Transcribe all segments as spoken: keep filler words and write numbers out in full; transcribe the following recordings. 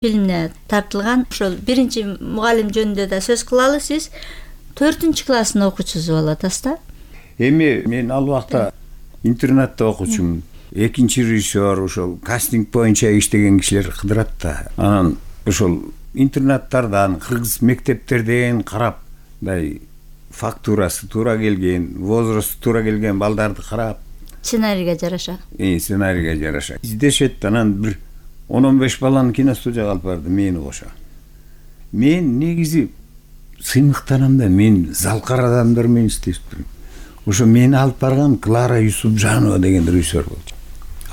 фильмине тартылган. Ошол биринчи мугалим жөнүндө да сөз кылалы. Сиз төртүнчү класстын окуучусу болуп атасыз да? Эми мен ал убакта интернатта окуучумун. Экинчи режиссер ошол кастинг боюнча иштеген кишилер кыдырат да. Анан ошол интернаттардан, кыргыз мектептерден карап, мындай фактурасы туура келген, возрасту туура келген балдарды карап, сценарийге жараша. Э, сценарийге жараша издешет. Анан бир он он беш баланы киностудияга алып барды, мени кошо. Мен негизи сыймыктанам да, мен залкар адамдар менен иштептирмин. Ошо мени алып барган Клара Юсупжанова деген режиссер болчу.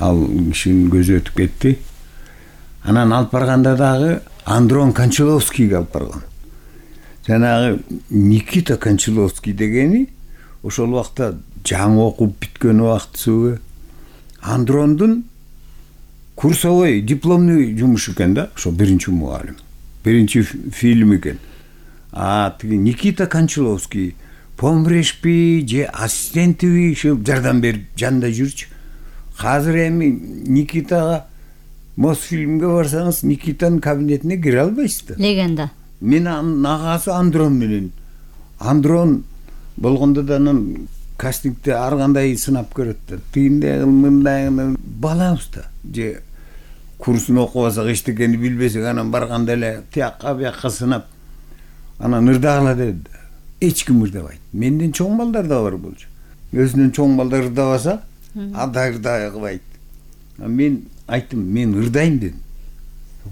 Ал кишинин көзү өтүп кетти. Анан алып барганда дагы Андрон Кончаловскийге алып барган. Жанагы Никита Кончаловский дегени ошол убакта жаңы окуп бүткөн убактысыбы Андрондун курсовой дипломный жумушу экен да, ошо биринчи мугалим. Биринчи фильм экен. А тиги Никита Кончаловский помрешпи же ассистентиби ушул жардам берип жанында жүрчү. Азыр эми Никитага Мосфильмге барсаңыз, Никитанын кабинетине кире албайсыз да. Легенда. Менин агасы Андрон менен. Андрон болгондо да анан кастингде ар кандай сынап көрөт да. Тигиндей мындай балабыз да. Же курсун окубасак эчтекени билбесек, анан барганда эле тиякка биякка сынап, анан ырдагыла деди. Эч ким ырдабайт. Менден чоң балдар да бар болчу. Өзүнөн чоң балдар ырдабаса, ада ырдай кылбайт. Мен айттым, мен ырдайм дедим.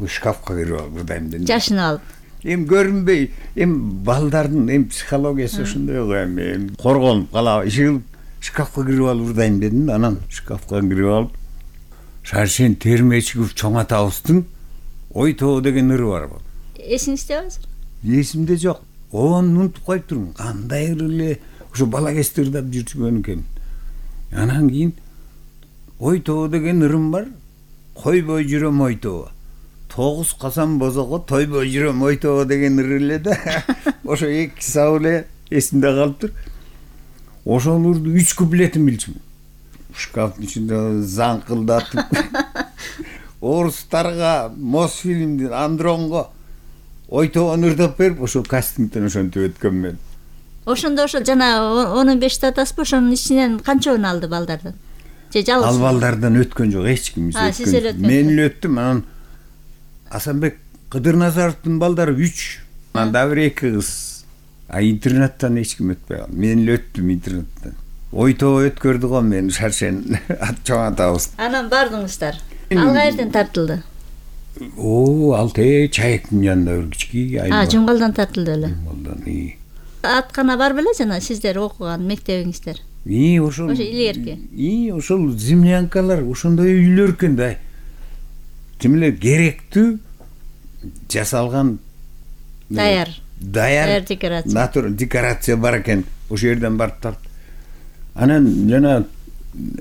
Шкафка кирип алып ырдайм дедим. Жашын алып. Эми көрүнбөй, эми балдардын эми психологиясы ошондой го эми. Коргонуп калабы, ишигип шкафка кирип алып ырдайм дедим. Анан шкафка кирип алып, Шаршен Термечигов чоң атабыздын Ой тоо деген ыры бар. Эсиңизде азыр? Эсимде жок. Оны унутуп коюп турмун. Кандай ыр эле ошо бала кезде ырдап жүргөн экен. Анан кийин Ой тоо деген ырым бар. Койбой жүрөм ой тоо. Тогуз касан бозого тойбой жүрөм ой тоо деген ыр эле да. Ошо эки сабыр эле эсимде калыптыр. Ошол ырды үч куплетин билчүмүн. Шкафтын ичинде заңкылдатып. Орустарга Мосфильмдин Андронго Ой тоonu ырдап берип, ошо кастингден ошентип өткөм мен. Ошондо ошо жана он бешти атасызбы, ошонун ичинен канчобун алды балдардан? Же жалгыз? Ал балдардан өткөн жок, эч ким өткөн. Мен эле өттүм. Анан Асанбек Кыдырназаровдун балдары үч, анан да бир эки кыз. А интернаттан эч ким өтпөй калды. Мен эле өттүм интернаттан. Ой тоо өткөрдү го мен Шаршен чоң атабыз. Анан бардыңыздар. Ал каерден тартылды? О, ал те чайыктын жанында бир кички айыл. А, Жумгалдан тартылды эле. Жумгалдан, и. Аткана бар беле жана сиздер окуган мектебиңиздер? И, ошол. Ошо илгерки. И, ошол землянкалар, ошондой үйлөр экен да. Тим эле керектүү жасалган даяр. Даяр декорация. Натур декорация бар экен. Ошол жерден барып тарт. Анан жана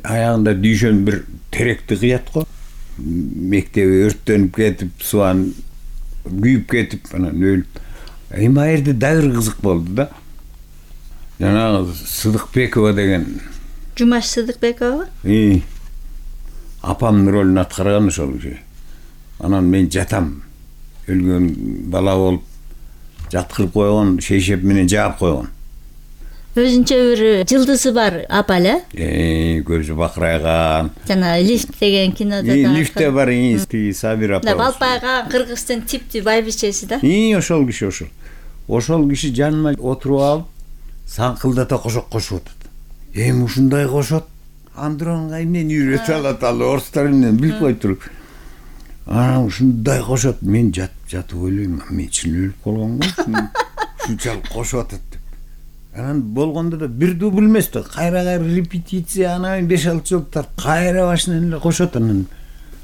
аягында дүйшөн бир теректи кыят го. Мектеби өрттөнүп кетип, суан күйүп кетип, анан өлүп. Эми ал жерде дагы кызык болду да. Жана Сыдыкбекова деген. Жумаш Сыдыкбекова? И. Апамдын ролун аткарган ошол киши. Анан мен жатам. Өлгөн бала болуп жаткырып койгон, шейшеп менен жаап койгон. Өзүнчө бир жылдызы бар апа эле? Э, көзү бакырайган. Жана Лифт деген кинодо да. Лифтте бар инсти Сабир апа. Да, балпайган кыргыздын типтүү байбичеси да. И, ошол киши ошол. Ошол киши жаныма отуруп алып, саңкылдата кошок кошуп атат. Эми ушундай кошот. Андронга эмнени үйрөтүп алат, ал орустар менен билип койтур. Анан ушундай кошот, мен жатып жатып ойлойм, мен чын өлүп калгам го. Ушунчалык кошуп атат деп. Анан болгондо да бир дубль эмес да, кайра-кайра репетиция, анан беш алты жолу тарт, кайра башынан эле кошот. Анан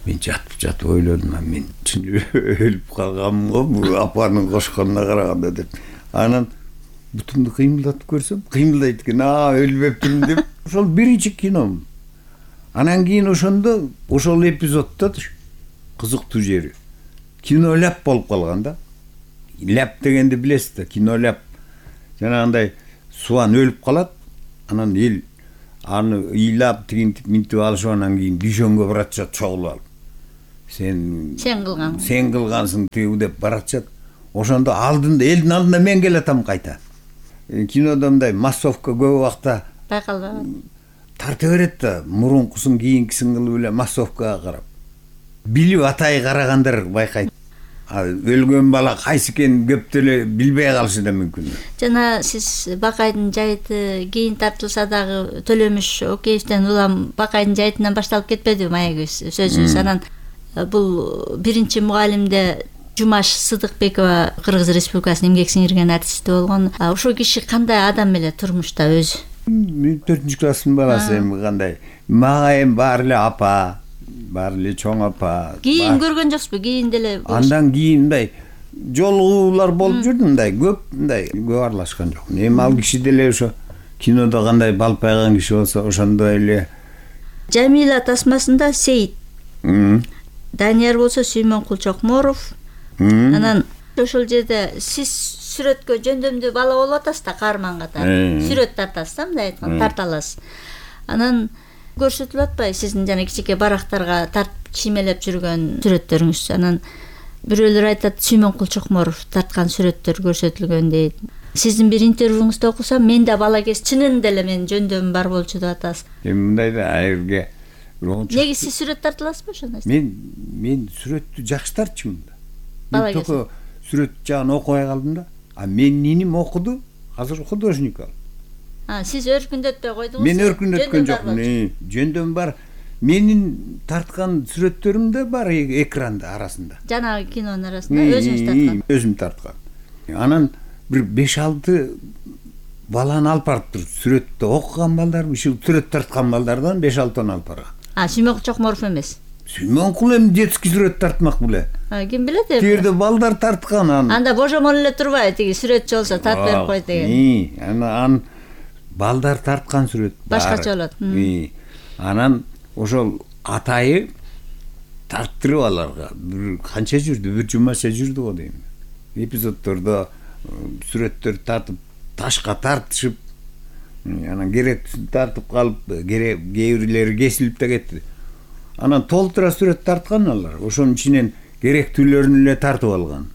мен жатып жатып ойлодум, мен чын өлүп калгам го бул апанын кошконуна караганда деп. Анан бутумду кыймылдатып көрсөм, кыймылдайт экен, а өлбөптүрмүн деп. Ошол биринчи кином. Анан кийин ошондо ошол эпизоддо кызыктуу жери кино ляп болуп калган да. Ляп дегенди билесиз да, кино ляп. Жанагындай суан өлүп калат, анан эл аны ыйлап тигинтип минтип алышып, анан кийин дүйшөнгө барат чогулуп алып. сен сен кылган сен кылгансың тыгу деп баратышат. Ошондо алдында элдин алдында мен келатам кайта. Кинодо мындай массовка көп убакта байкалбаган. Тарта берет да, мурункусын кийинкисин кылып эле массовкага карап. Билип атай карагандар байкайт. Өлгөн бала кайсы экенин көп деле билбей калышы да мүмкүн. Жана сиз Бакайдын жайыты кийин тартылса дагы Төлөмүш Океевден улам Бакайдын жайытынан башталып кетпедиби маегибиз сөзүбүз. Анан бул биринчи мугалимде Жумаш Сыдыкбекова Кыргыз Республикасынын эмгек сиңирген артисти болгон. Ошол киши кандай адам эле турмушта өзү? төртүнчү класстын баласы эми кандай. Мага эми баары эле апа, баары эле чоң апа. Кийин көргөн жоксузбу? Кийин деле андан кийин мындай жолугуулар болуп жүрдү, мындай көп мындай көп аралашкан жок. Эми ал киши деле ошо кинодо кандай балпайган киши болсо ошондой эле. Жамила тасмасында Сейит. Данияр болсо Сүймөнкул Чокморов. Анан ошол жерде сиз сүрөткө жөндөмдүү бала болуп атасыз да, каарман катары. Сүрөт тартасыз да, мындай айтканда тарта аласыз. Анан көрсөтүлүп атпайбы сиздин жана кичике барактарга тартып чимелеп жүргөн сүрөттөрүңүз? Анан бирөөлөр айтат Сүймөнкул Чокморов тарткан сүрөттөр көрсөтүлгөн дейт. Сиздин бир интервьюңузду окусам, мен да бала кез чынында эле мен жөндөмүм бар болчу деп атасыз. Эми мындай да айырга неге сиз сүрөт тарта аласызбы ошондой? Мен мен сүрөттү жакшы тартчумун да. Мен только сүрөт жагын окубай калдым да. А мен ниним окуду, азыр художник ал. А, сиз өркүндөтпөй койдуңуз? Мен өркүндөткөн жокмун. Жөндөм бар. Менин тарткан сүрөттөрүм да бар экранда арасында. Жанагы кинонун арасында өзүңүз тарткан? Өзүм тарткан. Анан бир беш алты баланы алып барыптыр. Сүрөттө окуган балдар, ушул сүрөт тарткан балдардан беш алтыны алып барган. А, Сүймөнкул Чокморов эмес? Сүймөнкул эми детский сүрөт тартмак беле. А, ким билет эми? Тирде балдар тарткан аны. Анда божомол эле турбайбы, тиги сүрөтчү болсо тартып берип койт деген. Ана ан балдар тарткан сүрөт бар. Башкача болот. Анан ошол атайы тарттырып аларга бир канча жүрдү, бир жумаша жүрдү го дейм. Эпизоддордо сүрөттөр тартып ташка тартышып, анан керектүүсүн тартып калып, керек кээ бирлери кесилип да кетти. Анан толтура сүрөт тарткан алар. Ошонун ичинен керектүүлөрүн эле тартып алган.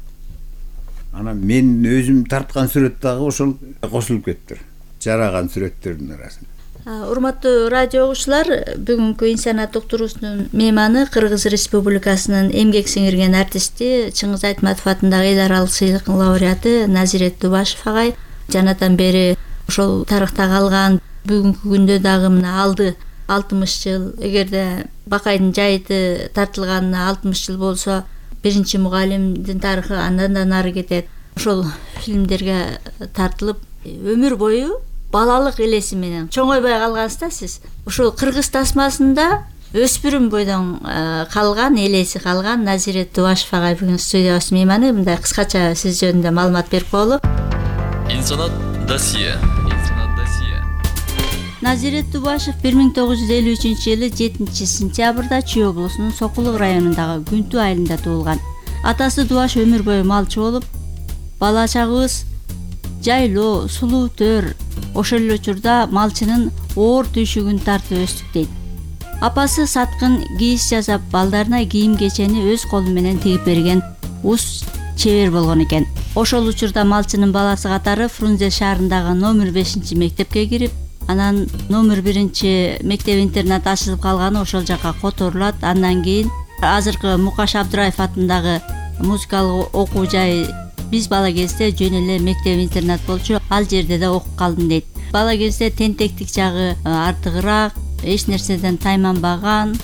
Анан мен өзүм тарткан сүрөт дагы ошол кошулуп кетти. Жараган сүрөттөрдүн арасында. Урматтуу радио угуучулар, бүгүнкү инсаният уктуруусунун мейманы Кыргыз Республикасынын эмгек сиңирген артисти, Чыңгыз Айтматов атындагы эл аралык сыйлыктын лауреаты Назирет Дубашев агай. Жанатан бери ошол тарыхта калган, бүгүнкү күндө дагы мына алды алтымыш жыл. Эгерде Бакайдын жайыты тартылганына алтымыш жыл болсо, биринчи мугалимдин тарыхы андан да нары кетет. Ошол фильмдерге тартылып, өмүр бою балалык элеси менен чоңойбой калгансыз да сиз. Ошол Кыргыз тасмасында өспүрүм бойдон калган, элеси калган Назирет Дубашев агай бүгүн студиябыз мейманы. Мындай кыскача сиз жөнүндө маалымат берип коелу. Инсанат досье. Назирет Дубашев бир миң тогуз жүз элүү үчүнчү жылы жетинчи сентябрда Чүй облусунун Сокулук районундагы Күнтүү айылында туулган. Атасы Дубаш өмүр бою малчы болуп, бала чагыбыз жайлоо, сулуу төр, ошол эле учурда малчынын оор түйшүгүн тартып өстүк дейт. Апасы саткын кийиз жасап, балдарына кийим кечени өз колу менен тигип берген ус чебер болгон экен. Ошол учурда малчынын баласы катары Фрунзе шаарындагы номер бешинчи мектепке кирип, анан номер биринчи мектеп интернат ачылып калганы ошол жака которулат. Андан кийин азыркы Мукаш Абдыраев атындагы музыкалык окуу жай биз бала кезде жөн эле мектеп интернат болчу, ал жерде да окуп калдым дейт. Бала кезде тентектик жагы артыгыраак, эч нерседен тайманбаган.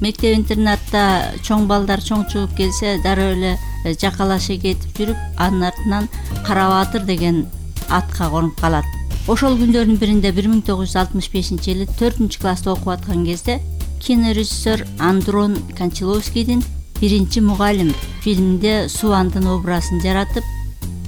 Мектеп интернатта чоң балдар чоң чыгып келсе дароо эле жакалаша кетип жүрүп, анын артынан Карабатыр деген атка конуп калат. Ошол күндөрдүн биринде бир миң тогуз жүз алтымыш бешинчи жылы төртүнчү класста окуп аткан кезде кинорежиссер Андрон Кончаловскийдин биринчи мугалим фильминде Суандын образын жаратып,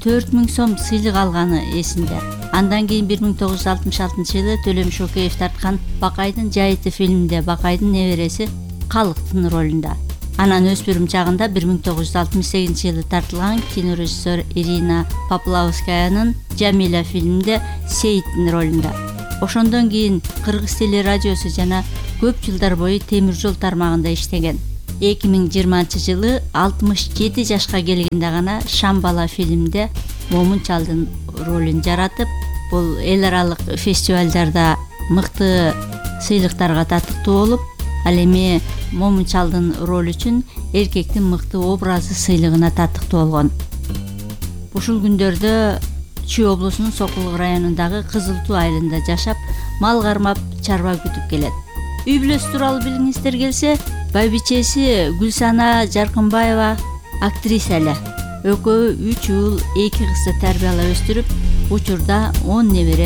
төрт миң сом сыйлык алганы эсинде. Андан кийин бир миң тогуз жүз алтымыш алтынчы жылы Төлөмүш Океев тарткан Бакайдын жайыты фильминде Бакайдын небереси Калыктын ролунда. Анан өспүрүм чагында бир миң тогуз жүз алтымыш сегизинчи жылы тартылган кинорежиссер Ирина Поплавскаянын Жамила фильминде Сейиттин ролунда. Ошондон кийин Кыргыз телерадиосу жана көп жылдар бою темир жол тармагында иштеген. эки миң жыйырманчы жылы алтымыш жети жашка келгенде гана Шам бала фильминде Момун чалдын ролун жаратып, бул эл аралык фестивалдарда мыкты сыйлыктарга татыктуу болуп, ал эми Момун чалдын ролу үчүн эркектин мыкты образы сыйлыгына татыктуу болгон. Ушул күндөрдө Чүй облусунун Сокулук районундагы Кызыл Туу айылында жашап, мал кармап, чарба күтүп келет. Үй бүлөсү тууралуу билгиңиздер келсе, байбичеси Гүлсана Жаркынбаева актриса эле. Экөө үч уул, эки кызды тарбиялап өстүрүп, учурда он небере